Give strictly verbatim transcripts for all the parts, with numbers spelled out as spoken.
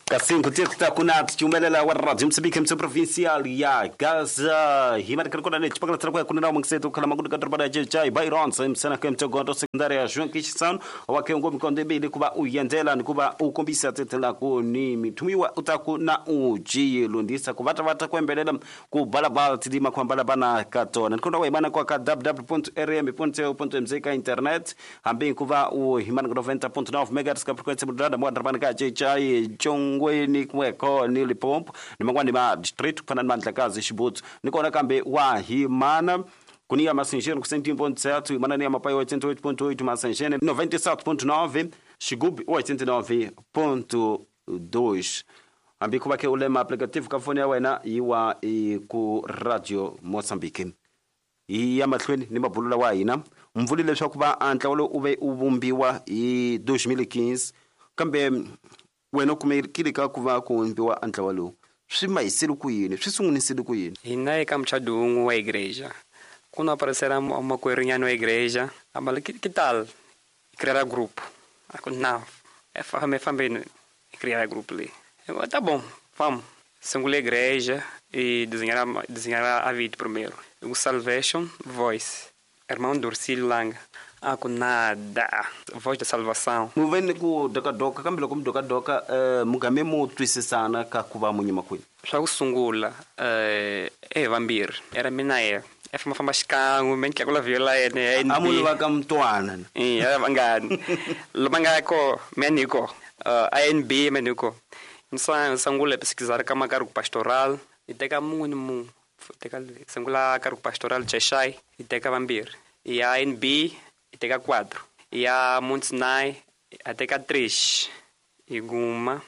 Kasi nkutirta kuna tichumelela wa Radio Mozambique mtso provincial ya Gaza himarikana kona ne chipakala tsara kuna na mangseto kala magudu ka drobada jai Byron msana ke mtsogondo secondary ya João Kishan wa kengo mikonde bili kuba uyendela ni kuba ukombisa tetela ku ni mitumiwa utaku na uji lundisa kuvata vata kwembelela ku balabala tidima kwa balabana katona nkonda wa imana kwa ka w w w ponto r m ponto c o ponto m z ka internet hambi kuva u himana noventa ponto nove megahertz ka frequência modulada mwa drobada ka jai Jongwe ni kweko ni Limpopo ni mangwani ma district kufana ni Mandlakazi Xibutsu ni kona kambe wa himana kunia Massinjene com cento e um ponto sete imana ni Amapai oitenta e oito ponto oito Massinjene noventa e sete ponto nove Xigubi oitenta e nove ponto dois ambi kuba ke ulema aplicativo ka fone ya wena yiwa ku Radio Mozambique iya mahlweni ni mabulula wa hina mvuli leswaku va antla lo uve u vumbiwa hi dois mil e quinze kambe wena kumekile ka ku va ku vumbiwa antlawa lowu swi mahisile ku yini swi sungunisile ku yini hina eka muchado wun'we wa igreja kuna aparecera makwerhu wa igreja ambala que, que tal criar grupo ako não é fambe fambe criar grupo ali eu, tá bom vamos sungula igreja e desenhar desenhar a vida primeiro o Salvation Voice irmão Dorcílio Langa ako nada voz da salvação mu vene ku dokadoka kambe loko mi dokadoka uh, mugame mu twisisana ka ku va munyima kwini swa ku sungula uh, e vambirhi era mina ye e famba famba xikan'we me ni tlakula viola yene a munhu va ka mutwana e era vangani loma nga ko me ni ko uh, A N B me ni ko nsa sungula pesquisar ka makargo pastoral e teka munhu ni munhu teka sungula cargo pastoral Cheshai e teka vambirhi e A N B e teka quatro e a Monte Sinai a teka três e guma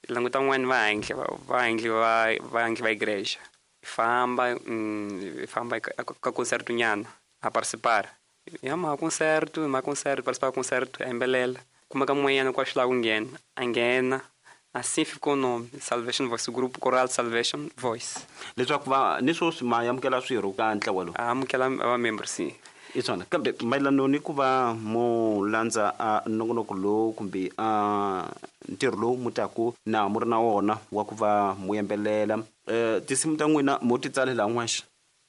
languta n'wana va handle va handle va va handle va igreja famba hum, famba ka concerto nyana a participar ya ma concerto ma concerto participar concerto embelela kuma ka mun'wanyana kwa xila ku nghena a nghena assim ficou o nome Salvation Voice, o grupo coral Salvation Voice leswaku va ni sweswi ma amukela swirho ka ntlawa lowu a amukela va member sim i swona kambe mayelano ni ku va mu landza a nongonoko lowu kumbe a ntirho lowu mu taku na mu ri na wona wa ku va mu yembelela um tinsimu ta n'wina mo ti tsalela n'wexe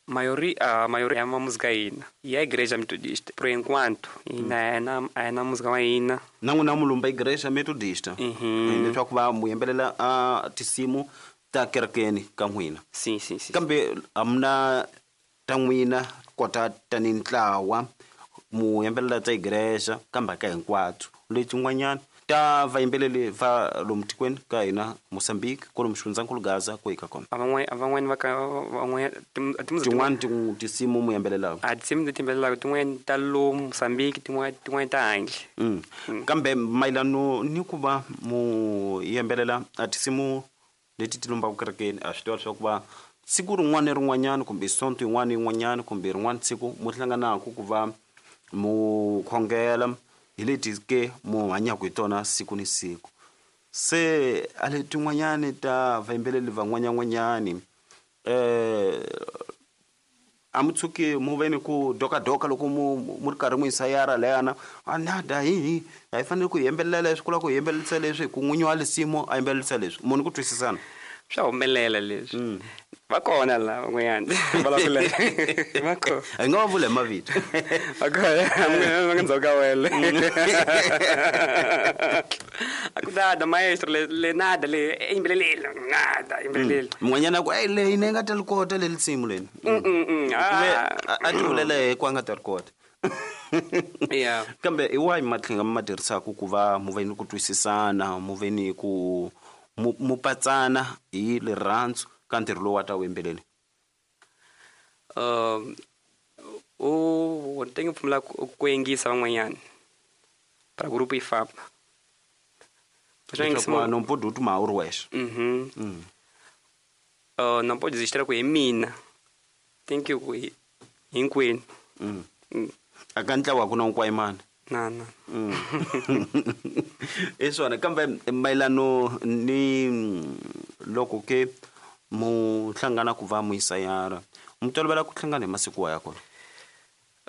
maioria a maioria é uma música hina e a igreja metodista por enquanto hina é na é na música hina na n'wina mu lumba igreja metodista leswaku va mu yembelela a tinsimu ta kerekeni ka n'wina sim sim sim kambe a mi na ta n'wina kota tani ntlawa mu yembelela ta igreja kambe ka hinkwato letin'wanyana ta vayimbeleli va lomu tikweni ka hina Mozambique kwalomu xifundzankulu Gaza ku hika kona a van'wani va ka van'wani tin'wani tinsimu mu yembelelaka a tinsimu leti yimbelelaka tin'wani ta lomu Mozambique tin'wani tin'wani ta handle kambe mayelano ni ku va mu yembelela a tinsimu leti ti lombaka kerekeni a swi tiva leswaku va siku rin'wana ni rin'wanyana kumbe sonto yin'wana ni yin'wanyana kumbe rin'wana siku mu hlanganaka ku va mu khongela hi leti ke mu hanyaka hi tona siku ni siku se a letin'wanyani ta vayimbeleli van'wanyan'wanyani um a mu tshuki mu ve ni ku dokadoka loko mu mu ri karhi mu yisayara layana a nada hi a hi fanele ku hi yimbelela leswi ku lava ku hi yimbelelisa leswi hi ku n'winyi wa lisimu a yimbelelisa leswi munhu ku twisisana swa humelela leswi va kona la van'wanyana vulavula va kona hi nga va vula hi mavito va kona va nga ndzhaku ka wele a ku nada maestro le le nada le yimbeleleli nada yimbeleleli mun'wanyana a ku eyi leyi ni nga ta ri kota leli nsimu leni a ti vulela hi ku a nga ta ri kota yeah kambe hi wahi matlhinga mi ma tirhisaka ku va mu ve ni ku twisisana mu ve ni ku mu patsana hi rirhandzu ka ntirho lowu wa ta wu yimbeleli um u tenge pfumela ku yingisa van'wanyana para grupo yi famba não pode tomar o wexe uhum mm. uh, não pode desistir ku hi mina thank you ku hinkwenu mm. a ka ntlawa ku na nkwayimana na na i swona kambe mayelano ni loko ke mu hlangana ku va mu yisayara mu tolovela ku hlangana hi masiku wa ya kona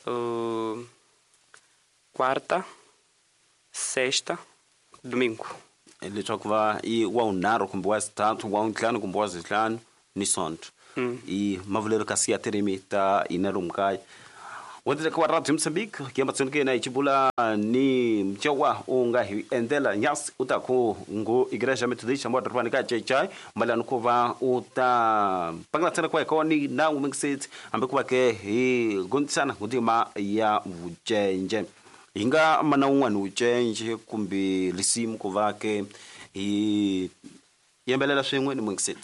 uh, quarta sexta domingo Leswaku va i wa vunharhu kumbe wa xithathu, wa vuntlhanu kumbe wa xihlanu ni sonto. I mavulelo kasi ya tirimi ta hina lomu kaya. Wendleka wa Radio Mozambique kiyamba tsonke na ichibula ni mchewa u nga hi endlela nyasi u ta ku ngu igreja methodista mwa dorobani ka Chechai malano ku va u ta pangela tsena kwa koni na umingsit hambi ku va ke hi gondisana ngudima ya vucenje hi nga mana un'wana wucenje kumbe risimu ku va ke hi yimbelela swin'we ni mingsit.